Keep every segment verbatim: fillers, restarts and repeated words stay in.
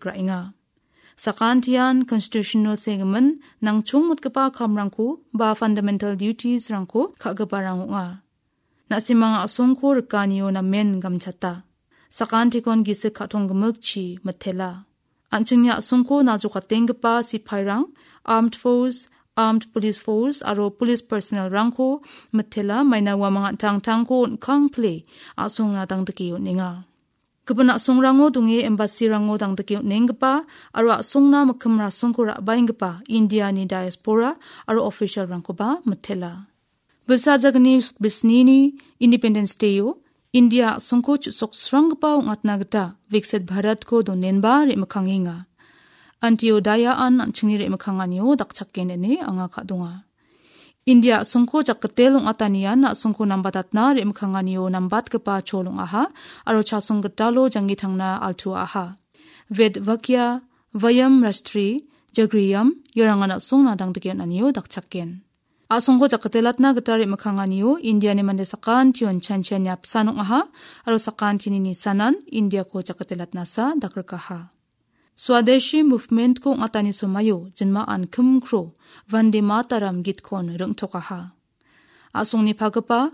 ra·enga. Sakantian Constitution-o segimin nangchongmotgipa kamrangko ba fundamental duties-rangko ka·giparang ong·a. Na·simang a·songko rikanio namen gamchata. Sakantikon gisik ka·tong gimikchi mitela. An·chingni a·songko naljokatenggipa sipairang, armed force, armed police force aro police personnel-rangko mitela, maina uamang an·tangtangko on·kangpile a·songna dangdike on·enga. Gipin a·songrango donge embassy-rango dangdike on·enggipa aro a·songna mikkim rasongko ra·baenggipa Indiani diaspora aro official-rangkoba mitela. Bisa jagni bisnini Independence Day-o India a·songko chu·soksranggipa ong·atna gita Viksit Bharatko donenba re·mikkangenga. Antyodaya-an an·chingni re·mikkanganio dakchaken ine anga ka·donga. India a·songko jakgitel ong·atanian a·songko nambatatna re·mikkanganio nambatgipa chol ong·aha aro chasong gitalo janggi tangna altuaaha. Ved Vakya Vayam Rashtri Jagriyam, iarangan a·songna dangdike on·anio dakchaken. A·songko jakgitelatna gita re·mikkanganio Indiani mande sakantion chanchiani apsan ong·aha aro sakantini nisanan Indiako jakgitelatnasa dakrikaha. Swadeshi Movement-ko ong·atani somaio jinmaan kimkro Vande Mataram gitkon ring·tokaha. A·songni pagipa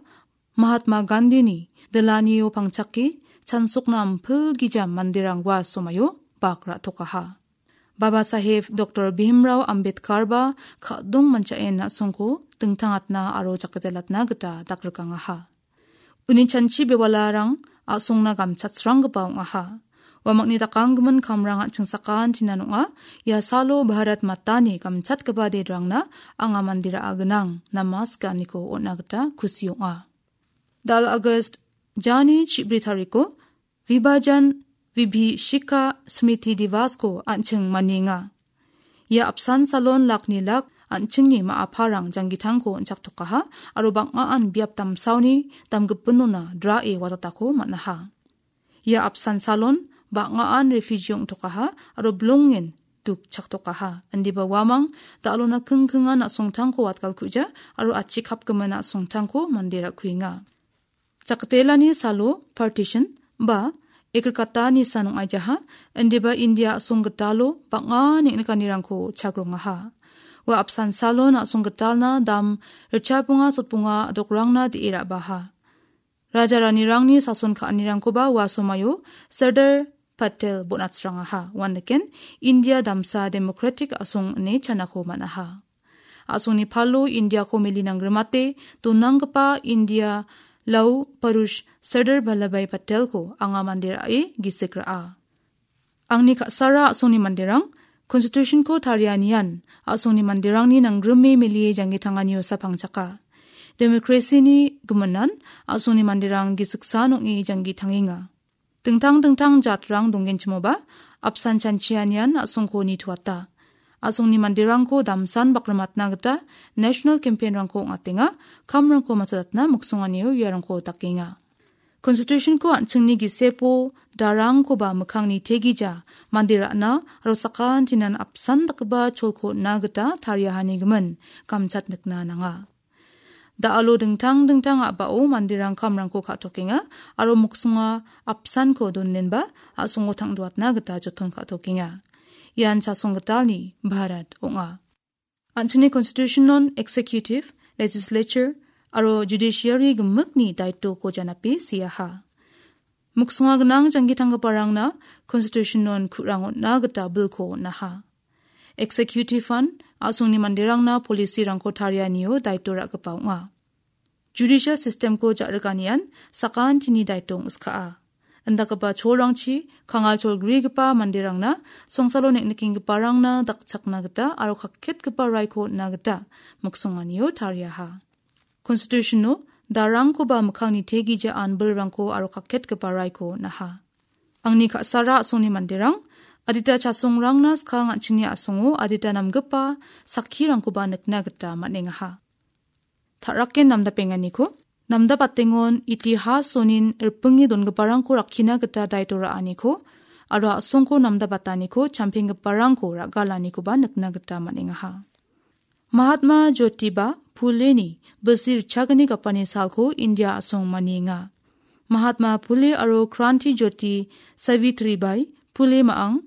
Mahatma Gandhini dilanio pangchake chansokna ampilgija manderang ua somaio bak ra·tokaha. Baba Saheb Doktor Bhimrao Ambedkarba ka·dong manchaen a·songko dingtangatna aro jakdelatna gita dakrikangaha. Uni chanchi bewalarang a·songna gamchatsranggipa ong·aha. Uamangni dakanggimin kamrang an·ching sakantinan ong·a. Ia salo Bharat Matani gamchatgipa dedrangna anga mandera gnang namaskaniko on·a gita kusi ong·a. Dal Agast jani chibri tariko Vibhajan Vibhishika Smriti Divasko an·ching manienga. Ia apsan salon lakni lak an·chingni ma·aparang janggitangko on·chaktokaha aro bang·aan biap damsaoni damgipinona drae watatako man·aha. Ia apsan salon bang·aan refugee ong·tokaha aro bilongen duk chaktokaha. Indiba uamang dal·ona kingkingan a·songtangko watgalkuja aro achikapgimin a·songtangko mande ra·kuenga. Jakatelani salo partition ba egrikatani san ong·aijaha, indiba India a·song gitalo bang·a neng·nikanirangko chagrongaha. Ua apsan salon a·song gitalna dam ritchabonga sotbonga dokrangna de·e ra·baha. Raja ranirangni sason ka·anirangkoba ua somaio Sardar Patel bon·atsrangaha. Uandeken India damsa democratic a·song ine chanako man·aha. A·songni palo Indiako mili nanggrimate donanggipa India Lau Parush Sardar Vallabhbhai Patelko anga mande ra·e gisik ra·a. Angni ka·sara a·songni manderang Constitution-ko tarianian a·songni manderangni nanggrime melie janggi tanganiosa pangchaka. Democracy-ni giminan a·songni manderang gisiksan ong·e janggi tangenga. Dingtang dingtang jatrang donggenchimoba apsan chanchianian a·songko nitoata. A·songni manderangko damsan bakrimatna gita national campaign-rangko ong·atenga, kamrangko matodatna miksonganio iarangko dakenga. Constitution-ko an·chingni gisepo darangkoba mikkangni tegija mande ra·na aro sakantinan apsan dakgipa cholko on·na gita tariahani gimin gamchat nikna nanga. Da·alo dingtang dingtang a·bao manderang kamrangko ka·tokenga aro miksonga apsanko donenba a·songo tangdoatna gita joton ka·tokenga. Ian chasong gitalni Bharat ong·a. An·chingni Constitution-on executive, legislature aro judiciary gimikni daitoko janape seaha. Miksonga gnang janggitanggiparangna Constitution-on ku·rang on·na gita bilko on·aha. Executive-an a·songni manderangna policy-rangko tarianio daito ra·gipa ong·a. Judicial system-ko ja·riganian sakantini daito ong·skaa. Indakgipa cholrangchi kangal cholgrigipa manderangna songsalo neng·nikenggiparangna dakchakna gita aro kakketgipa raiko on·na gita miksonganio tariaha. Constitution-o darangkoba mikkangni tegija anbilrangko aro kakketgipa raiko on·aha. Angni ka·sara a·songni manderang adita chasongrangna skang an·chingni a·songo adita namgipa sakkirangkoba nikna gita man·engaha. Ta·raken namdapenganiko, namdapatengon itihasonin ripinge dongiparangko rakkina gita daito ra·aniko aro a·songko namdabataniko champenggiparangko ra·galanikoba nikna gita man·engaha. Mahatma Jyotiba Phuleni bilsi ritchagni gapani salko India a·song manienga. Mahatma Phule aro Kranti Jyoti Savitribai Phule ma·ang